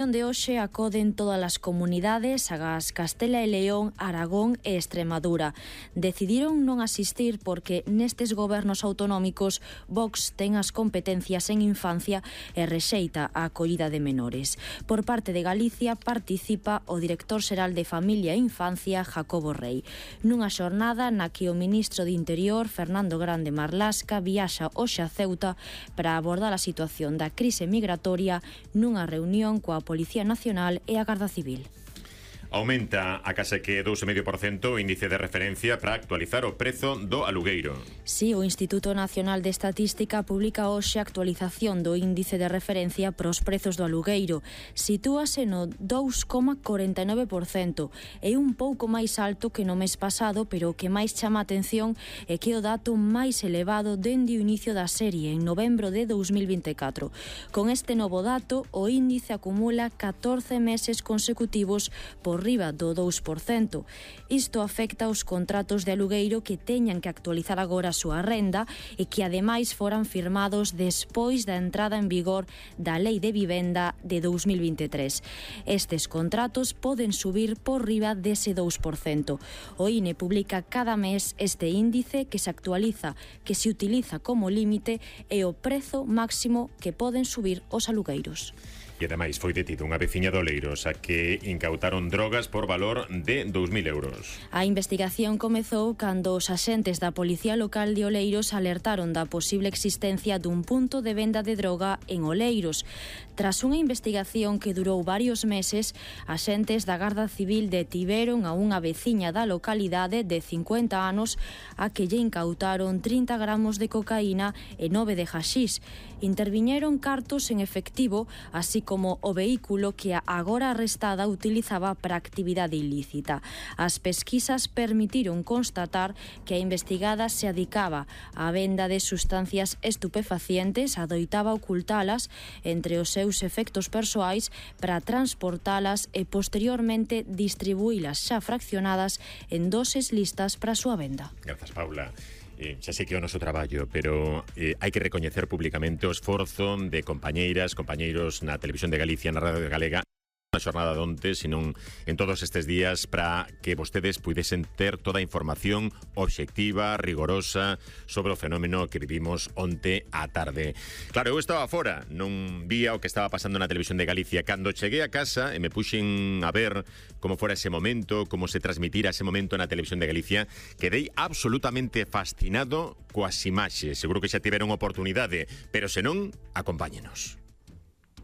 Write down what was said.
De hoxe acoden todas as comunidades, agás Castela e León, Aragón e Extremadura. Decidiron non asistir porque nestes gobernos autonómicos Vox ten as competencias en infancia e rexeita a acollida de menores. Por parte de Galicia participa o director xeral de Familia e Infancia, Jacobo Rei, nunha xornada na que o ministro de Interior, Fernando Grande Marlasca, viaxa hoxe a Ceuta para abordar a situación da crise migratoria nunha reunión coa Policía Nacional e a Garda Civil. Aumenta a case que 2,5% o índice de referencia para actualizar o prezo do alugueiro. Si, o Instituto Nacional de Estatística publica hoxe a actualización do índice de referencia para os prezos do alugueiro. Sitúase no 2,49%. É un pouco máis alto que no mes pasado, pero o que máis chama a atención é que é o dato máis elevado dende o inicio da serie, en novembro de 2024. Con este novo dato, o índice acumula 14 meses consecutivos por riba do 2%. Isto afecta aos contratos de alugueiro que teñan que actualizar agora a súa renda e que ademais foran firmados despois da entrada en vigor da Lei de Vivenda de 2023. Estes contratos poden subir por riba dese 2%. O INE publica cada mes este índice que se actualiza, que se utiliza como límite e o prezo máximo que poden subir os alugueiros. E ademais foi detido unha veciña de Oleiros a que incautaron drogas por valor de 2.000 euros. A investigación comezou cando os axentes da Policía Local de Oleiros alertaron da posible existencia dun punto de venda de droga en Oleiros. Tras unha investigación que durou varios meses, axentes da Garda Civil detiveron a unha veciña da localidade de 50 anos a que lle incautaron 30 gramos de cocaína e 9 de haxís. Interviñeron cartos en efectivo, así como o vehículo que a agora arrestada utilizaba para actividade ilícita. As pesquisas permitiron constatar que a investigada se adicaba á venda de sustancias estupefacientes, adoitaba ocultalas entre os seus efectos persoais para transportalas e posteriormente distribuílas xa fraccionadas en doses listas para a súa venda. Grazas, Paula. Xa sei que é o noso traballo, pero hai que recoñecer públicamente o esforzo de compañeiras, compañeiros na Televisión de Galicia, na Radio Galega, na xornada de onte, senón en todos estes días, para que vostedes puidesen ter toda a información obxectiva, rigorosa sobre o fenómeno que vivimos onte á tarde. Claro, eu estaba fora, non vía o que estaba pasando na Televisión de Galicia. Cando cheguei a casa e me puxen a ver como fora ese momento, como se transmitira ese momento na Televisión de Galicia, quedei absolutamente fascinado coas imaxes. Seguro que xa tiveron oportunidade, pero senón, acompáñenos.